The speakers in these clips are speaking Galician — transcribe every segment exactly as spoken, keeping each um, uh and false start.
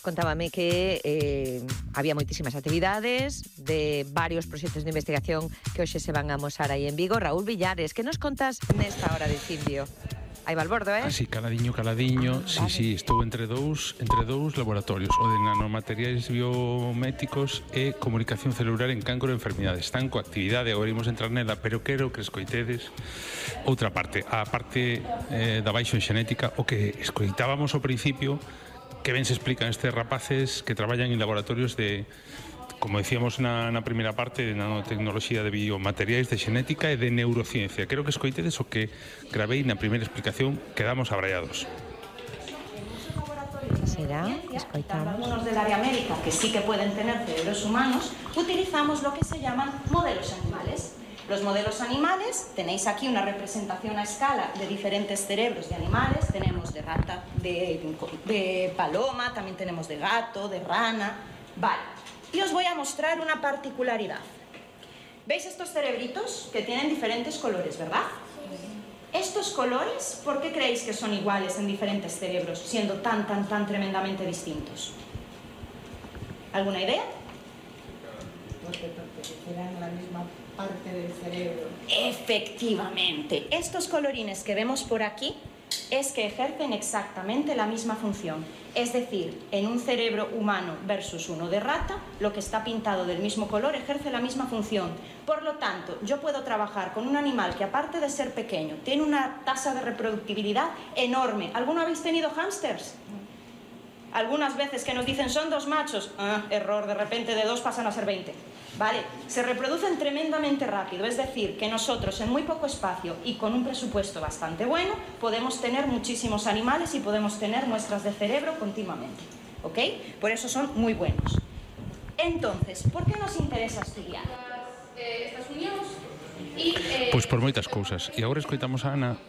contábame que eh, había moitísimas actividades de varios proxectos de investigación que hoxe se van a amosar aí en Vigo. Raúl Villares, que nos contas nesta hora de Cindio? Aí Valbordo, eh? Así, caladiño, caladiño, ah, sí, vale. sí, estou entre dous entre dous laboratorios, o de nanomateriais biométicos e comunicación celular en cancro e enfermidades. Están coa actividade, agora imos entrar nela, pero quero que escoitedes outra parte, a parte eh, da baixo en xenética, o que escoitábamos ao principio, que ben se explican estes rapaces que traballan en laboratorios de, como decíamos na, na primeira parte, de nanotecnoloxía de biomateriais, de xenética e de neurociencia. Quero que escoitedes o que gravei na primeira explicación, quedamos abraiados. Será? Escoitamos. Algunos del área médica que sí que pueden tener cerebros humanos, utilizamos lo que se llaman modelos animales. Los modelos animales, tenéis aquí una representación a escala de diferentes cerebros de animales, tenemos de rata, de, de paloma, también tenemos de gato, de rana, vale. Y os voy a mostrar una particularidad. ¿Veis estos cerebritos que tienen diferentes colores, verdad? Sí. Estos colores, ¿por qué creéis que son iguales en diferentes cerebros, siendo tan, tan, tan tremendamente distintos? ¿Alguna idea? Porque pertenecieran a la misma parte del cerebro. Efectivamente. Estos colorines que vemos por aquí es que ejercen exactamente la misma función. Es decir, en un cerebro humano versus uno de rata, lo que está pintado del mismo color ejerce la misma función. Por lo tanto, yo puedo trabajar con un animal que, aparte de ser pequeño, tiene una tasa de reproductibilidad enorme. ¿Alguno habéis tenido hámsters? Algunas veces que nos dicen son dos machos, ah, error, de repente de dos pasan a ser veinte. Vale, se reproducen tremendamente rápido, es decir, que nosotros en muy poco espacio y con un presupuesto bastante bueno podemos tener muchísimos animales y podemos tener muestras de cerebro continuamente, ¿ok? Por eso son muy buenos. Entonces, ¿por qué nos interesa estudiar estas uniones? Eh... Pois por moitas cousas. E agora escoitamos a Ana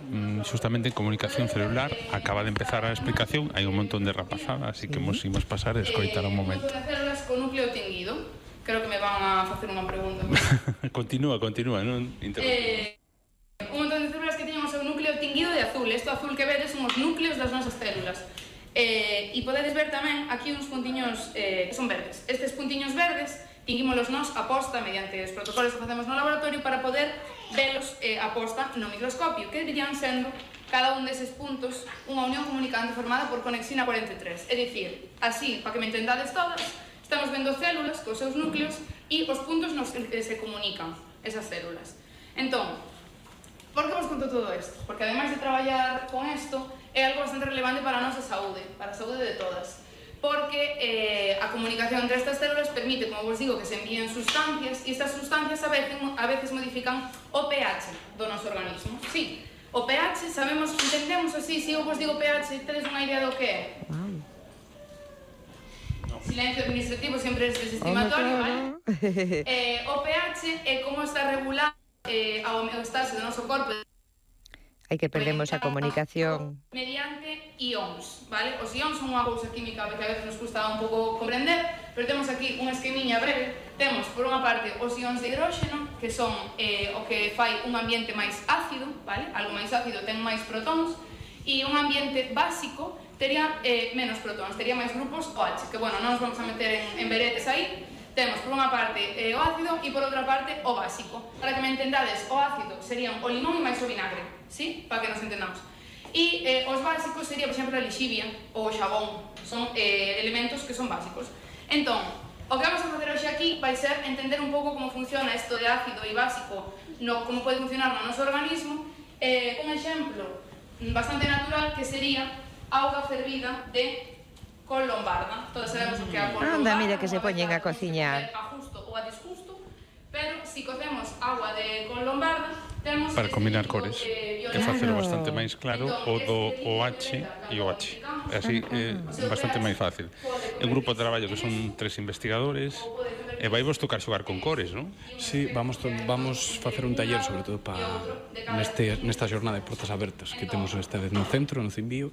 justamente en comunicación celular. Acaba de empezar a explicación, hai un montón de rapazada, así que nos imos pasar a escoitar un momento. Eh, células con núcleo tinguido. Creo que me van a facer unha pregunta. Continúa, continúa, non eh, un montón de células que teñen o seu núcleo tinguido de azul. Isto azul que vedes son os núcleos das nosas células. Eh, e podedes ver tamén aquí uns puntiños eh, que son verdes. Estes puntiños verdes tinguímolos nós a posta mediante os protocolos que facemos no laboratorio para poder velos eh, a posta no microscopio, que dirían sendo cada un deses puntos unha unión comunicante formada por conexina cuarenta e tres. É dicir, así, para que me entendades todas, estamos vendo células cos seus núcleos e os puntos nos que se comunican esas células. Entón, por que vos conto todo isto? Porque ademais de traballar con isto, é algo bastante relevante para a nosa saúde, para a saúde de todas. Porque eh, a comunicación entre estas células permite, como vos digo, que se envíen sustancias e estas sustancias a veces, a veces modifican o pH do noso organismo. Sí, o pH, sabemos, entendemos así, se eu vos digo pH, tedes unha idea do que é? Silencio administrativo sempre es desestimatorio, vale? Eh, o pH é como está regulado eh, a homeostase do noso corpo. Hai que perdemos a comunicación. Mediante ións, vale? Os ións son unha cousa química que a veces nos custa un pouco comprender, pero temos aquí unha esquemiña breve. Temos, por unha parte, os ións de hidróxeno, que son eh, o que fai un ambiente máis ácido, vale? Algo máis ácido ten máis protóns, e un ambiente básico tería eh, menos protóns, tería máis grupos OH, que, bueno, non nos vamos a meter en, en veretes aí. Temos, por unha parte, eh, o ácido e, por outra parte, o básico. Para que me entendades, o ácido serían o limón e máis o vinagre, sí? Para que nos entendamos. E eh, os básicos sería, por exemplo, a lixivia ou o xabón. Son eh, elementos que son básicos. Entón, o que vamos a facer hoxe aquí vai ser entender un pouco como funciona isto de ácido e básico, no, como pode funcionar no noso organismo. Eh, un exemplo bastante natural que sería auga fervida de col lombarda. Todas sabemos o que é a col lombarda. Anda, mira que se poñen a cociñar. A justo ou a disgusto, pero si cocemos agua de col lombarda, temos para combinar cores e facelo bastante máis claro o do OH e o H. Así é bastante máis fácil. É un grupo de traballo que son tres investigadores e vai vos tocar xogar con cores, non? Sí, vamos vamos facer un taller sobre todo para neste nesta xornada de portas abertas que temos esta vez no centro, no Cimbío.